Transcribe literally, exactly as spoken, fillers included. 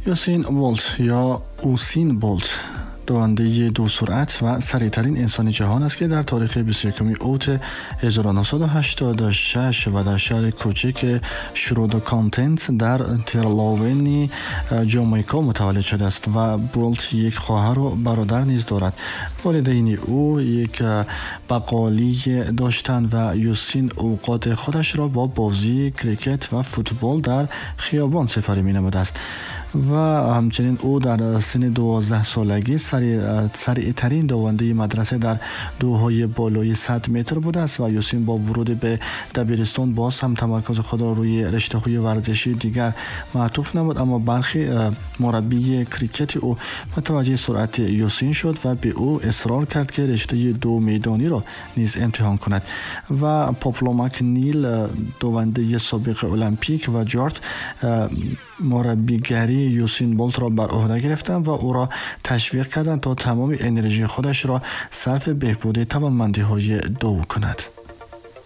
یوسین بولت یا اوسین بولت دوانده دو سرعت و سریعترین انسان جهان است که در تاریخ بیست و یکم اوت هزار و نهصد و هشتاد و شش و در شهر کوچک شرود کانتنت در ترلاونی جامائیکا متولد شده است و بولت یک خواهر و برادر نیز دارد. والدین او یک بقالی داشتند و یوسین اوقات خودش را با بازی کریکت و فوتبال در خیابان سپری می‌نموده است و همچنین او در سن دوازده سالگی سریعترین دوانده مدرسه در دوهای بالای صد متر بوده است و یوسین با ورود به دبیرستان باز هم تمرکز خود را روی رشته‌های ورزشی دیگر معطوف نمود، اما برخی مربی کریکت او متوجه سرعت یوسین شد و به او اصرار کرد که رشته دو میدانی را نیز امتحان کند و پاپلو مکنیل دوانده سابق المپیک و جارت مربیگری یوسین بولت را بر عهده گرفتند و او را تشویق کردند تا تمام انرژی خودش را صرف بهبود توانمندی‌های دو کند.